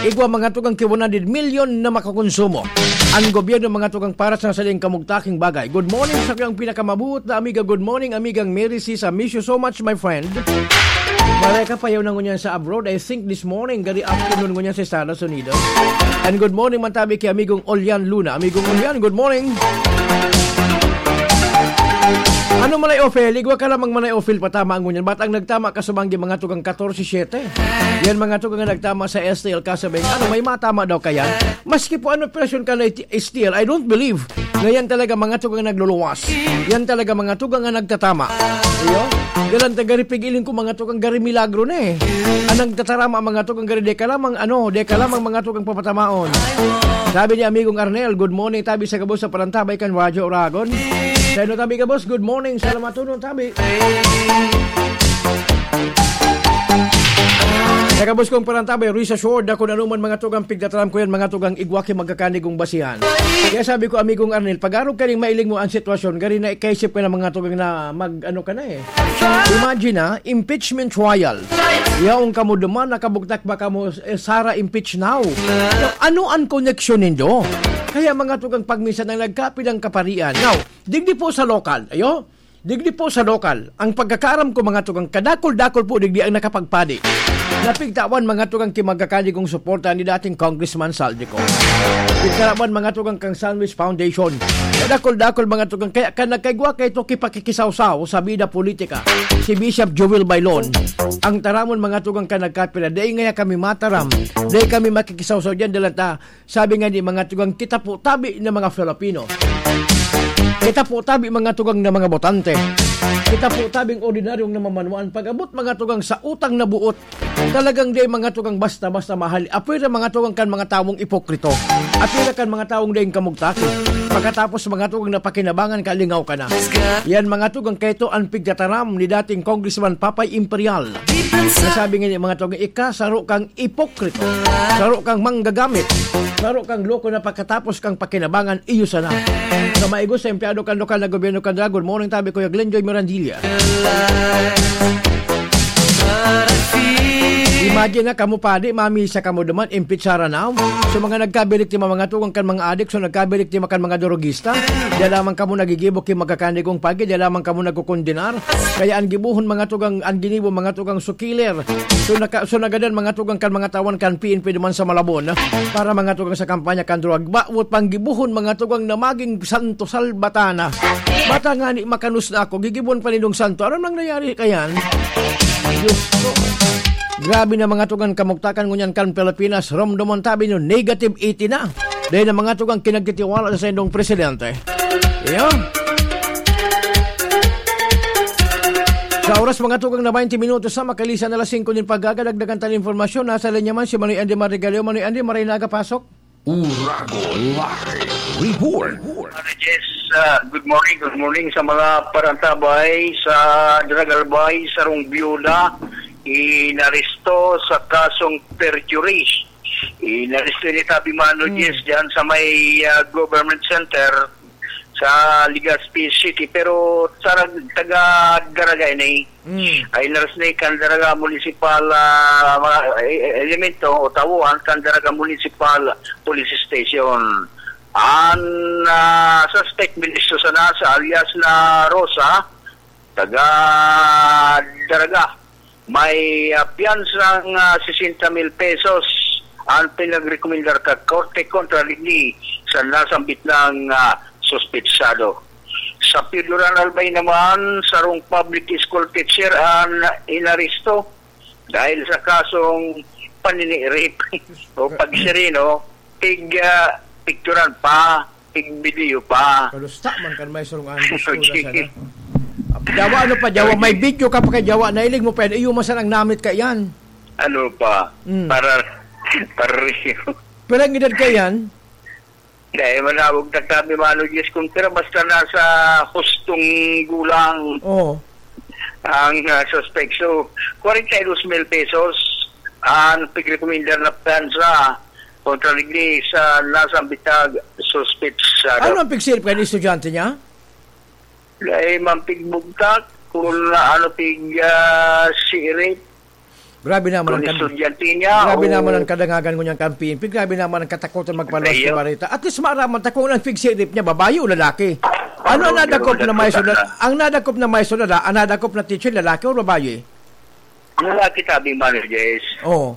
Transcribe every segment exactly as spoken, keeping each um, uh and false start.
Igwa mga tugang ki one hundred million na makakonsumo. Ang gobyerno mga tugang para sa saling kamugtaking bagay. Good morning sa kayong pinakamabuot na amiga. Good morning, amigang Mary Sis. I miss you so much, my friend. Maray ka payaw na ngunyan sa abroad. I think this morning, gari afternoon ngunyan sa Estados Unidos. And good morning, man tabi ki amigong Olian Luna. Amigong Olian, good morning. Ano, Manay Ophel? Igwa ka lamang, Manay Ophel, patama ang ngunyan. Ba't ang nagtama ka sa banggi mga tugang katorse siyete? Yan mga tugang ang nagtama sa S T L kasabing. Ano, may matama daw kaya? Maski po ano operasyon ka na iti-, S T L, I don't believe na yan talaga mga tugang ang nagluluwas. Yan talaga mga tugang ang nagtatama. Iyo? Dalan taga ripigiling ko mga tugang gari milagro na eh. Ang nagtatarama mga tugang gari deka lamang ano, deka lamang mga tugang papatamaon. Sabi ni amigong Arnel, "Good morning, tabi sa gabos sa Parantabay kan Radyo Oragon." Sa ino tabi gabos, good morning. Salamat tunon tabi. Sa gabos kong Parantabay, rest assured ako na anuman mga tugang pigtataram ko yan, mga tugang igwa ki magkakanigong basihan. Kaya sabi ko, amigong Arnel, pag-arog ka ning mailing mo ang sitwasyon, gari na ikaisip ka na mga tugang na mag-ano ka na eh. Imagine ha, impeachment trial. Yaon kamo duman, nakabugtak ba kamo, eh, Sara impeach now? Now, ano ang koneksyon nindo? Kaya mga tugang pagminsan ang nagkapit ang kaparian. Now, digdi po sa lokal, ayo? Digdi po sa lokal, ang pagkakaaram ko mga tugang kadakol-dakol po digdi ang nakapagpadi. Napigtawan mga tugang ki magkakanigong suporta ni dating Congressman Saldico. Pigkaraman mga tugang kang Sandwich Foundation. Kadakol-dakol mga tugang kaya ka nagkaigwa kay to kipakikisawsaw sa bida politika. Si Bishop Joel Bailon, ang taramon mga tugang ka nagkapira. Dai ngaya kami mataram. Dai kami makikisawsaw diyan. Dalan ta, sabi nga ni mga tugang kita po tabi na mga Filipino. Kita po tabi mga tugang na mga botante. Kita po tabing ordinaryong namamanuan. Pag-abot mga tugang sa utang na buot, talagang di mga tugang basta-basta mahali. Apoy na mga tugang kan mga tawong ipokrito. Apoy na kan mga tawong daing kamugtaki. Pagkatapos mga tugang na pakinabangan ka, lingaw ka na. Yan mga tugang kaito ang pigtataram ni dating Congressman Papay Imperial. Nasabi nga ni mga tugang, ika, saro kang ipokrito, saro kang manggagamit, saro kang loko na pagkatapos kang pakinabangan, iyo sana. Sa maigos sa empleyado kan lokal na gobyerno kan Dragon, morning tabi Kuya Glenjoy Mirandilla. Imagine na kamo padi, mamisa kamo duman, impeachara na. So mga nagkabiriktima, mga tugang kan mga adik, so nagkabiriktima kan mga drogista, diyan lamang kamo nagigibo ki magkakanigong pagi, diyan lamang kamo nagkukondenar. Kaya ang gibohon mga tugang, ang ginibo mga tugang sukiler. So, naka, so nagadan mga tugang kan mga tawan kan P N P duman sa Malabon para mga tugang sa kampanya kan drug. Bawat panggibohon mga tugang na maging santo salbatana. Bata nga ni makanus na ako, gigibon pa nindong santo. Ano nang nangyari kayan? Diyos ko. Grabe na mga tugang kamugtakan ngunyan kan Pilipinas. Romdomon tabi nyo, negative eighty na. Dahil ang mga tugang kinagtitiwala sa indong presidente. Iyo. Sa oras, mga tugang na twenty minutos sa makalisan na alas singko nin pagkaga, dagdagan tayo ng impormasyon. Nasa linya man si Manoy Andy Marigaleo. Manoy Andy, maray na aga, pasok. Uragon Live Report. Ano, Jess, ah, good morning, good morning sa mga parantabay sa Dragalbay, sarong byuda, inaresto sa kasong perjury. Inaresto ni Tabi Mano Mm. Diaz diyan sa may, ah, government center sa Legazpi City. Pero sa nag-, taga Daraga ini, Mm. ay inaresto ni kan Daraga Municipal, ah, mga, eh, eh, elemento o tauhan kan Daraga Municipal Police Station. Ang, ah, suspect, Benicio Sanasa, alias na Rosa, taga Daraga. May, ah, piyansang, ah, sesenta mil pesos ang pinagrekomendar kan korte kontra digdi sa nasambit na, ah, suspetsado. Sa Pedro Albay naman, sarong public school teacher ang inaresto dahil sa kasong panini-rape o pagsirino, pig, ah, picturan pa, pig video pa. Kalusta man kan may sarong andos ko na sana. Jawa, ano pa, Jawa? May video ka pa kay Jawa, nailig mo pa yan. Iyo man sanang namit ka yan. Ano pa? Mm. Para, para real. Pero ang edad ka yan? Dahil manawag na kami, Mano Diyos, kung tira, basta nasa hustong gulang Oo. ang, ah, suspect. So, kwarenta y dos mil pesos ang pigrekomendar na piyansa kontra digdi sa nasambitag suspetsado. Ano ang pigsilip kayo ni estudyante niya? Dahil man pigbugtak, kung na, ano, pig, ah, sirit. Grabe naman ang kan-, estudyante niya, grabe o naman ang kadangagan ngunyan kan P N P. Grabe naman ang katakutan magpaluwas sa bareta. At least maaraman ta kung ang pig-sirip niya, babae o lalaki. Ano ang nadakop na maestro na, ang nadakop na maestro na, ang nadakop na teacher, lalaki o babae? Lalaki, sabi, Mano Jess. Oo.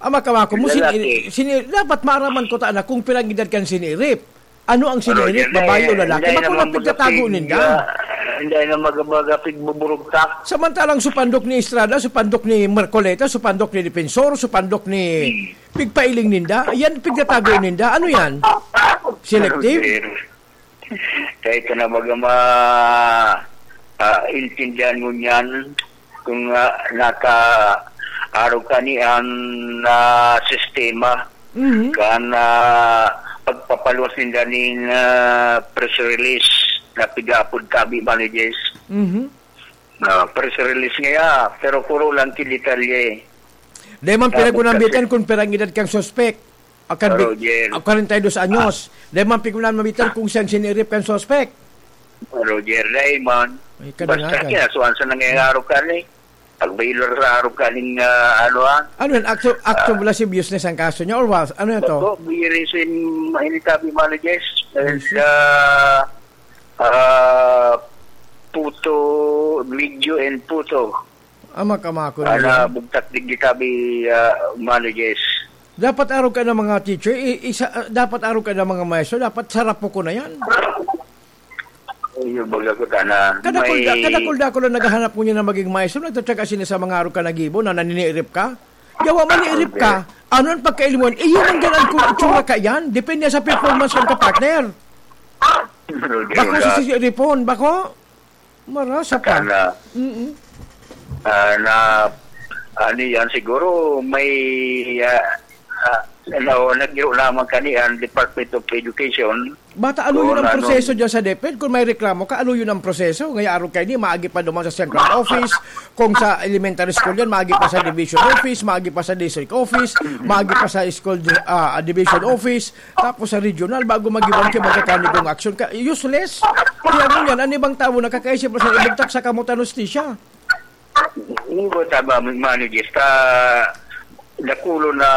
Ama ka, mako mo, sini-, sini-, dapat maaraman ko ta na kung pirang edad kan sinirip. Ano ang sinirip, babae o lalaki? Bako na pigtatago ninda. Hindi na mag-, mag-, pigbuburugtak. Samantalang supandok ni Estrada, supandok ni Marcoleta, supandok ni Defensor, supandok ni pigpailing ninda. Yan, pigtatago ninda. Ano yan? Selective? Kaya ito na baga ma-, ah, intindihan mo niyan kung, ah, naka-, arog ka ni an, ah, sistema. Mhm. Kan, ah, pagpapaluwas ninda nin, ah, press release na pigaapod tabi, Mano Jess. Mhm. Ah, press release ngaya, pero puro lang ki detalye. Dai man pinagunambitan kung pirang edad kang suspek. Akan bi-, Roger. Kwarenta y dos anyos. Dai man pigunan mabitan kung siyang sinirip kan suspek. Roger, dai man. Ay, kadangagan. Basta kinasuhan sa nangyayaro ka ni. Pag-bailor sa araw ka ning, ah, ano, ah. Ano yan? Acto, acto of lasciviousness ang kaso niya or what? Ano yan to? Bako, biris in, ini tabi, Mano Jess. Biris. Ah, ah, puto, video and puto. Ama ka, mako. Ala, bugtak digdi tabi, ah, Mano Jess. Dapat arog ka ng mga teacher, i-, isa, ah, dapat arog ka ng mga maestro, dapat sarap po ko na yan. Ayun, baga ko, tana. Kadakul-, may kadakul-dakul ang naghahanap ngunyan na maging maestro, nagtatyaga sila sa mga arog ka na gibo na naninirip ka. Yawa, manirip ka. Okay. Ano ang pagkailmuhan? Eh, yun ang ganaan kung itsura ka yan. Depende sa performance ng kapartner. Okay, bako wala. Si, si Ripon, bako? Marasa pa. Tana. Mm-mm. Ah, na, ano yan, siguro may, ah, ah, na, nagiro naman kani ang Department of Education. Bata, ano yun ang proseso dyan sa DepEd? Kung may reklamo ka, ano yun ang proseso? Ngaya arog kayo ni, maagi pa duman sa central office. Kung sa elementary school yan, maagi pa sa division office, maagi pa sa district office, maagi pa sa school, ah, division office. Tapos sa regional, bago mag-iwan ka, magkakanigong aksyon ka. Useless. Kaya ngunyan, an ibang tawo nakakaisip na sa ibugtak sa kamot an hustisya. Ingot, tama, Mano Jess, ta dakulo na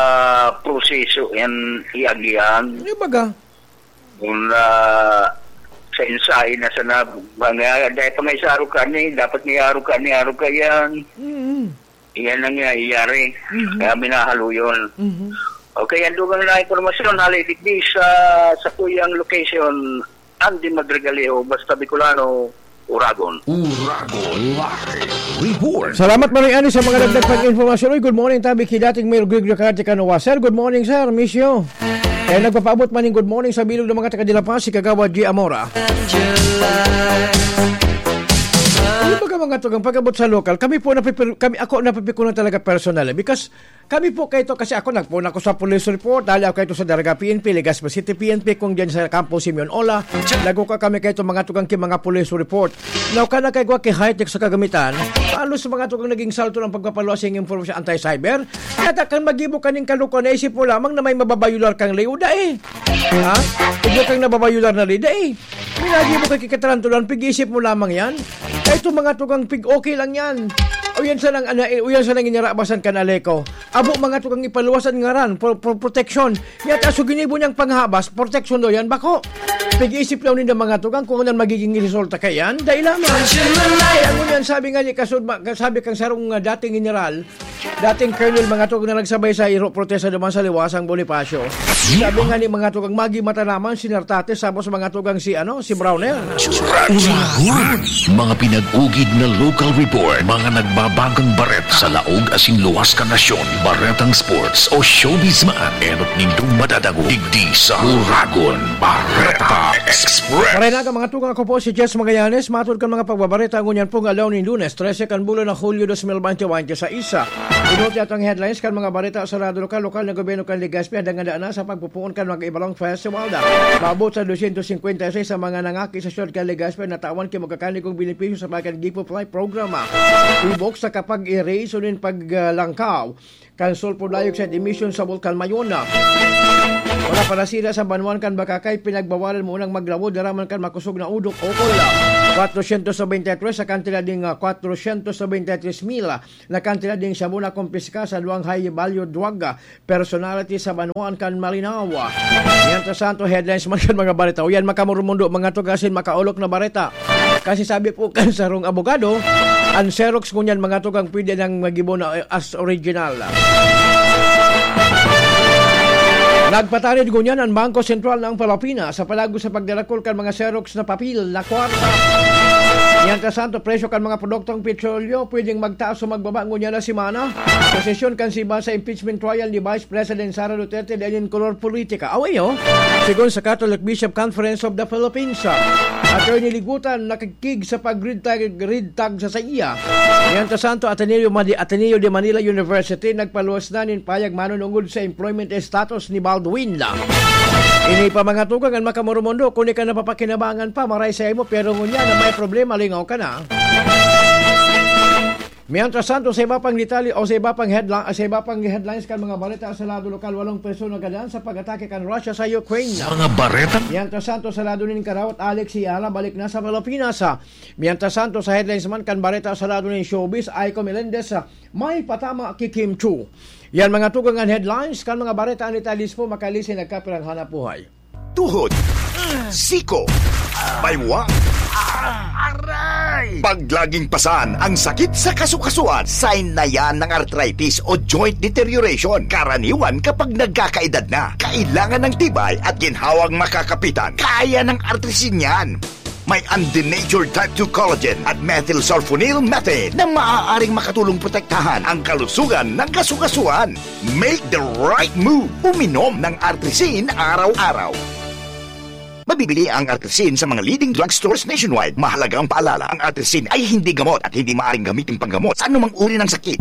proseso yan iagihan. Ano baga? Kung, ah, sa ensayo na sana, mga, dahil pa nga isa araw ka ni, dapat may araw ka ni, araw ka yan. Mm-mm. Iyan ang nangyayari. Mhm. Kaya minahalo yun. Mhm. Okay, ang dugang na impormasyon, hali digdi sa, sa kuyang location, Andy Madrigalejo, basta Bicolano, Uragon. Uragon Live Report. Salamat, Manoy Ani, sa mga dagdag pang impormasyon. Uy, good morning, tabi ki dating Mayor Gregorio Cadiao Canoa. Sir, good morning, sir. Miss you. Eh, nagpapaabot man yung good morning sa bilog ng mga taga Delapas, si Kagawad G Amora. Ano ba ka mga tugang pag-abot sa lokal? Kami po, napipir-, kami, ako, napipikunan talaga personal, eh. Because kami po kayo to, kasi ako, nagpuon ako sa police report, dali ako kayo to sa Daraga P N P, Legazpi City P N P, kung dyan sa Campo Simeon Ola, nagkuka kami kayo to mga tugang ki mga police report. Now, ka na kayo ki high-tech sa kagamitan, halos mga tugang naging salto ng pagpapaluwas yung information anti-cyber. Kaya kan mag-ibo ka ning kalukuhan, naisip mo lamang na may mababayular kang ley o dai. Ha? Igwa kang nababayular na ley, dai. May nag-ibo ka kikatarantulan, pig-isip mo lamang yan. Kaya itong mga tugang pig, okay lang yan. O yan sa nang, ana-, o yan sa nang inyarabasan kan Aleco. Abo mga tugang ipaluwasan ngaran, pro-, pro-, protection. Yata so ginibo niyang panghabas, protection daw yan, bako. Pig-isip daw ninda mga tugang kung anong magiging resulta kaya yan. Dahil lamang. Kaya ngunyan, sabi nga ni Kasud-, ma-, sabi kang sarong, ah, dating general, dating colonel, mga tugang na nagsabay sa iro protesta duman sa Liwasang Bonifacio. Sabi nga ni mga tugang, magi mata naman, si Nartates, tapos mga tugang si, ano, si Browner. Uragon. Mga pinag-ugid na local report, mga nagbabanggang baret sa laog asin luwas kan nasyon, baretang sports o showbiz man, enot nindong madadangog digdi sa Uragon Bareta Express. Maray na ka, mga tugang, ako po si Jess Magallanes, matod kan mga pagbabareta ngunyan pong aldaw nin Lunes, trese kan bulan na Hulyo dos mil bente bente sa isa. Inuti atong headlines kan mga bareta sa radyo lokal, lokal na gobyerno kan Legazpi, handang handa na sa pagpupoon kan mga Ibalong Festival. Maabot sa dosyentos singkwenta y seis sa mga nangaki sa siyudad kan Legazpi na tawan ki magkakanigong benepisyo sa Bagan Gift of Life Program. Ibok sa kapag-erase o nin paglangkaw kan sulfur dioxide emission sa Bulkan Mayona. Wala pa nasira sa banwaan kan Bacacay, pinagbawalan mo unang maglawod, daraman kan makosog na udok, okol. Kwatrosyentos nobenta y tres sa kantidad ding, ah, kwatrosyentos nobenta y tres mil na kantidad ding shabu na kumpiska sa duwang high value drug, ah, personality sa banwaan kan Malinao. Mientras tanto, headlines man kan mga bareta. O yan, makamurumundo, mga tugasin, makaolok na bareta. Kasi sabi po kan sarong abogado, ang Xerox ngunyan, mga tugang, pwede nang magibo na, eh, as original. Nagpatarid ngunyan ang Bangko Sentral ng Pilipinas sa palago sa pagdarakol kan mga Xerox na papel na kwarta. Mientras tanto, presyo kan mga produktong petrolyo pwedeng magtaas o magbaba ngunyan na semana. Posisyon kan siba sa impeachment trial ni Vice President Sara Duterte dahil in kolor politika. Away, oh. Segun sa Catholic Bishop Conference of the Philippines, ah, Attorney Ligutan nakikig sa pag-red tag, red tag sa saiya. Mientras tanto, Ateneo, Madi-, Ateneo de Manila University nagpaluwas na nin payag manunungod sa employment status ni Baldwin. Ini pa, mga tugang, ang makamurumundo, kung ika napapakinabangan pa, maray sa imo, pero ngunyan na may problema, lingaw ka na. Mientras tanto, sa iba pang detalye o sa iba pang headla-, sa iba pang headlines kan mga balita sa lado lokal, walong persona gadan sa pag-atake kan Russia sa Ukraine. Sa mga bareta? Mientras tanto, sa lado nin karawat, Alex Ayala balik na sa Pilipinas. Mientras tanto, sa headlines man kan bareta sa lado nin showbiz, Aiko Melendez, ah, may patama ki Kim Chu. Yan, mga tugang, an headlines kan mga bareta ni Talis po, makalisin nagkapirang hanap buhay. Tuhod, siko, baywa, aray! Pag laging pasan ang sakit sa kasukasuan, sign na yan ng arthritis o joint deterioration. Karaniwan kapag nagkakaedad na, kailangan ng tibay at ginhawang makakapitan. Kaya ng Artrisin yan. May undenatured type two collagen at methylsulfonyl methane na maaaring makatulong protektahan ang kalusugan ng kasukasuan. Make the right move. Uminom ng Artrisin araw-araw. Mabibili ang Artrisin sa mga leading drugstores nationwide. Mahalagang paalala, ang Artrisin ay hindi gamot at hindi maaaring gamitin panggamot sa anumang uri ng sakit.